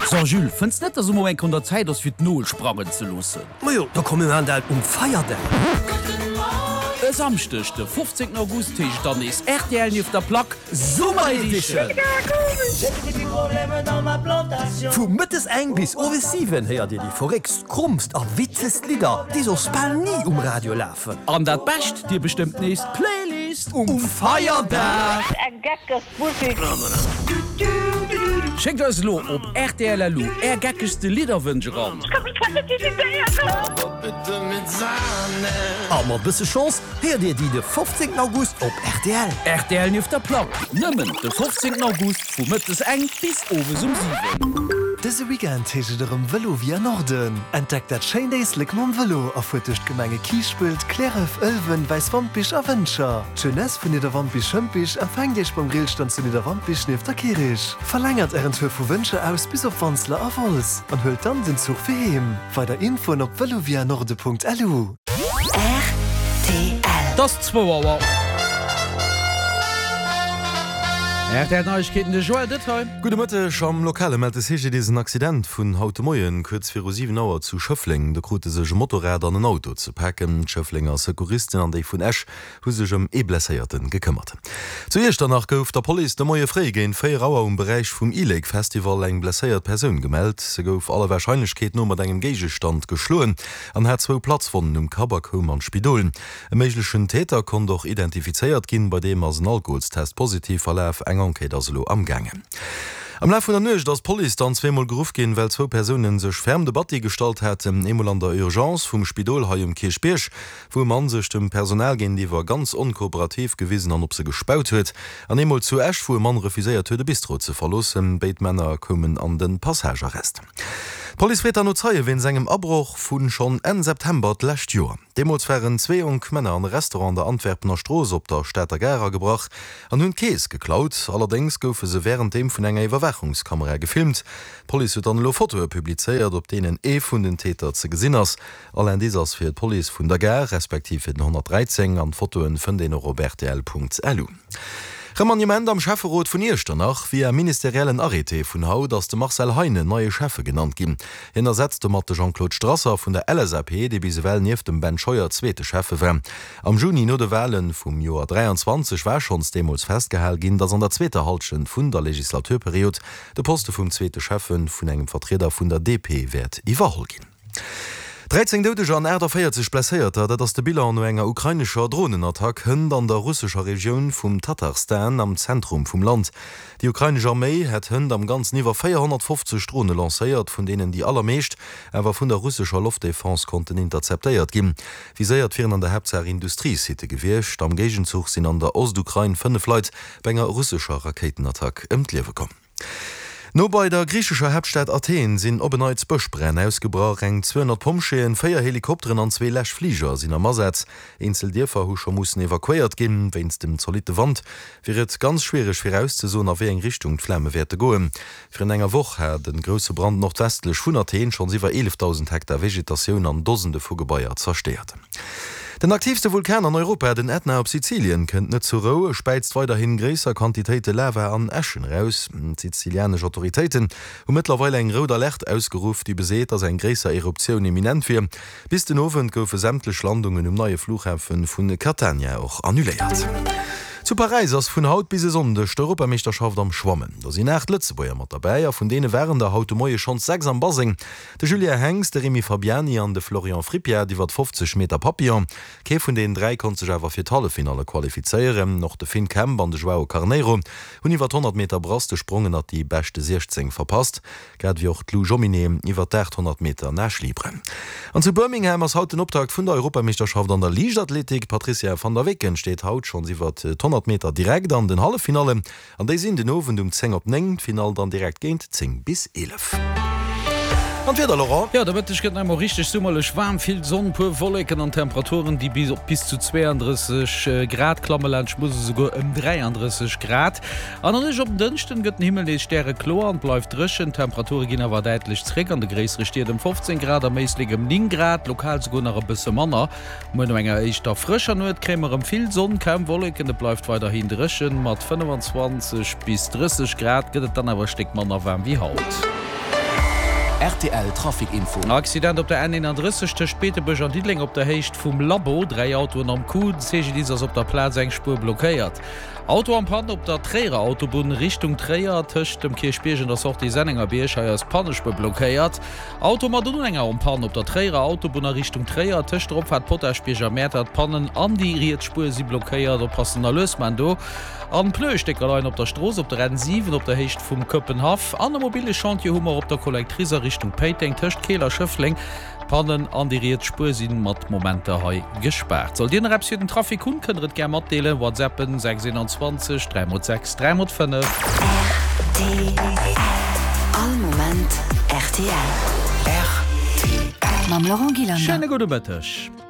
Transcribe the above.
So Jules, fënns net dass emol eng Kéier un der Zäit ass fir d'Nol sprangen ze loossen? Majo, da komm mir maan dat um Feierdag. E Samschdeg de 15 August heescht et dann nees rtl nieft der Plack Summer Edition! Vu mëttes eng bis owes 7 héiert dir déi verréckst, krommst a witzegst Lidder, déi soss bal ni um Radio lafen. An dat Bescht, dir bestëmmt nees d'Playlist um Feierdag! Eng geckeg Musik. Schéckt eis elo op rtl.lu är geckegste Lidderwënsch eran. A mat bësse Chance héiert dir déi de 15 August op rtl. Rtl nieft der Plack, nëmmen de 15 August vu mëttes eng bis owes um 7. Dëse Weekend heescht et erëm Vëlo via Norden. Entdeckt dat schéint Éislek mam Vëlo a fuert duerch d'Gemenge Kiischpelt, Cliärref, Ëlwen, Wäiswampich a Wëntger. D'Jeunesse vun Nidderwampich-Schëmpich empfänkt iech beim Grillstand zu Nidderwampich nieft der Kirich. Verlängert ären Tour vu Wëntger aus bis op Wanseler a Wolz an huelt dann den Zuch fir heem. Weider Infoen op velovianorde.lu. Rtl. Et ass zwou Auer. Rtl Neiegkeeten, de Joël Detail. Gudde Mëtteg. Am Lokale mellt de CGDIS en Accident vun haut de Moien, kuerz viru 7 Auer zu Schëffleng. Do krute sech e Motorrad an en Auto ze paken. D'Schëfflenger Secouristen an déi vun Esch hu sech ëm ee Blesséierte gekëmmert. Zu Iechternach gouf der Police de Moie fréi géint 4 Auer um Beräich vum E-Lake Festival eng blesséiert Persoun gemellt. Se gouf aller Warscheinlechkeet no mat engem Géigestand geschloen an hat zwou Platzwonnen um Kapp a koum an d'Spidol. E méiglechen Täter konnt och identifizéiert ginn, bei deem ass en Alkoholstest positiv verlaf. Eng Enquête ass elo amgaangen. Am Laf vun der Nuecht ass d'Police dann zweemol geruff ginn, well zwou Persounen sech ferm de Batti gestallt haten. Eemol an der Urgence vum Spidol hei um Kierchbierg, wou e Mann sech dem Personal géintiwwer ganz onkooperativ gewisen an op se gespaut huet, an eemol zu Esch, wou e Mann refuséiert huet, e Bistro ze verloossen. Béid Männer koumen an de Passagearrest. D'Police freet dann no Zeie wéinst engem Abroch vu schonn Enn September d'lescht Joer. Deemools waren zwee jonk Männer an e Restaurant an der Antwerpener Strooss op der Stater Gare agebrach an hunn d'Keess geklaut. Allerdéngs goufe se wärenddeem vun enger Iwwerwaachungskamera gefilmt. D'Police huet dann elo Fotoe publizéiert, op deenen ee vun den Täter ze gesinn ass. All Indice ass fir d'Police vun der Gare, respektiv fir den 113 an d'Fotoen fënnt een och op rtl.lu. Remaniement am Schäfferot vun Iechternach, Via ministeriellen Arrêté vun haut ass de Marcel Heinen neie Schäffe genannt ginn. Hien ersetzt domat de Jean-Claude Strasser vun der LSAP, dee bis ewell nieft dem Ben Scheuer zweete Schäffe war. Am Juni no de Wale vum Joer 23 war schonns deemools festgehal ginn, datt an der zweeter Hallschent vun der Legislaturperiod de Poste vum zweete Schäffe vun engem Vertrieder vun der DP wäert iwwerholl ginn. 13 Doudeger an 48 Blesséierter, dat ass de Bilan no enger ukrainescher Dronenattack hënt an der russescher Regioun vum Tatarstan am Zentrum vum Land. Déi ukrainesch Arméi hätt hënt am Ganzen iwwer 450 Drone lancéiert, vun deenen déi allermeescht awer vun der russescher Loftdefense konnten interzeptéiert ginn. Viséiert wieren an der Haaptsaach Industriesitte gewiescht. Am Géigenzuch sinn an der Ostukrain 5 Leit bei enger russescher Rakéitenattack ëm d'Liewe komm. No bei der griichescher Haaptstad Athen sinn op en Neits Bëschbränn ausgebrach. Eng 200 Pompjeeën, 4 Helikopteren an zwee Läschfliger sinn am Asaz. Eenzel Dierfer hu scho mussen evakuéiert ginn. Wéinst dem zolitte Wand wier et ganz schwiereg virauszesoen, a wéi eng Richtung d'Flame wäerte goen. Virun enger Woch hat e grousse Brand nordwestlech vun Athen schonns iwwer 11.000 Hektar Vegetatioun an Dosende vu Gebaier zerstéiert. Den aktiivste Vulkan an Europa, den Ätna op Sizilien, kënnt net zur Rou. E späizt weiderhin gréisser Quantitéite Lava an Äschen eraus. D'sizilianesch Autoritéiten hu mëttlerweil eng rout Alerte ausgeruff, déi beseet, dass eng gréisser Eruptioun imminent wier. Bis den Owend goufe sämtlech Landungen um neie Flughafe vu Catania och annuléiert. Zu Paräis ass vun haut bis e Sonndeg d'Europameeschterschaft am Schwammen. Do sinn 8 Lëtzebuerger mat derbäi a vun deene waren der haut de Moie schonns 6 am Baseng. De Julien Henx, de Rémi Fabiani an de Florian Frippiat iwwer 50 Meter Papillon. Kee vun deenen 3 konnt sech awer fir d'Halleffinalle qualifizéieren. Och de Finn Kemp an de Joao Carneiro hunn iwwer 100 Meter Brass de Sprong ënnert déi beschte 16 verpasst, grad ewéi och d'Lou Jomminet iwwer d'800 Meter Nage libre. An zu Birmingham ass haut den Optakt vun der Europameeschterschaft an der Liichtathletik. D'Patricia van der Weken steet haut schonns iwwer d'100 Meter direkt an den Halleffinallen. An déi sinn den Owend um 10 op 9, d'Finall dann direkt géint 10 bis 11. An d'Wieder, Laurent? Jo, de Mëtteg gëtt nach emol richteg summerlech waarm, vill Sonn, puer Wolleken an Temperaturen, déi bis op bis zu 32 Grad klammen, laanscht Musel esouguer ëm 33 Grad. An der Nuecht op en Dënschden gëtt den Himmel nees stärekloer an bleift dréchen. D'Temperature ginn awer däitlech zréck, an de gréissere Stied ëm 15 Grad, am Éislek ëm 9 Grad, lokal esouguer nach e bësse manner. Muer no enger éischter frëscher Nuet kréie mer erëm vill Sonn, kaum Wolleken, et bleift weiderhin dréchen. Mat 25 bis 30 Grad gëtt et dann awer e Stéck manner waarm wéi haut. Rtl Trafic Info. Accident op der N31 tëscht Beetebuerg an Diddeleng op der Héicht vum Labo, 3 Autoen am Coup, de CGDIS ass op der Plaz, eng Spuer blockéiert. Auto en Panne op der Tréierer Autobunn Richtung Tréier tëscht dem Kierchbierg an der Sortie Sennengerbierg, hei ass d'Pannespuer blockéiert. Auto mat Unhänger en Panne op der Tréierer Autobunn a Richtung Tréier tëscht der Opfaart Potaschbierg a Mäertert, d'Pannen an déi riets Spuer si blockéiert, oppassen a lues man do. An Pneuestécker leien op der Strooss op der N7 op der Héicht vum Këppenhaff. An e mobile Chantier hu mer op der Collectrice a Richtung Péiteng tëscht Keel a Schëffleng. D'Pannen an déi riets Spuer si mat Momenter hei gespaart. Sollt Dir nach eppes fir den Trafic hunn, kënnt der et gär matdeelen. WhatsAppen 6 21 3 x 6 3 x 5. Rtl. All Moment rtl. Rtl. Mam Laurent Gillander. Schéine gudde Mëtteg.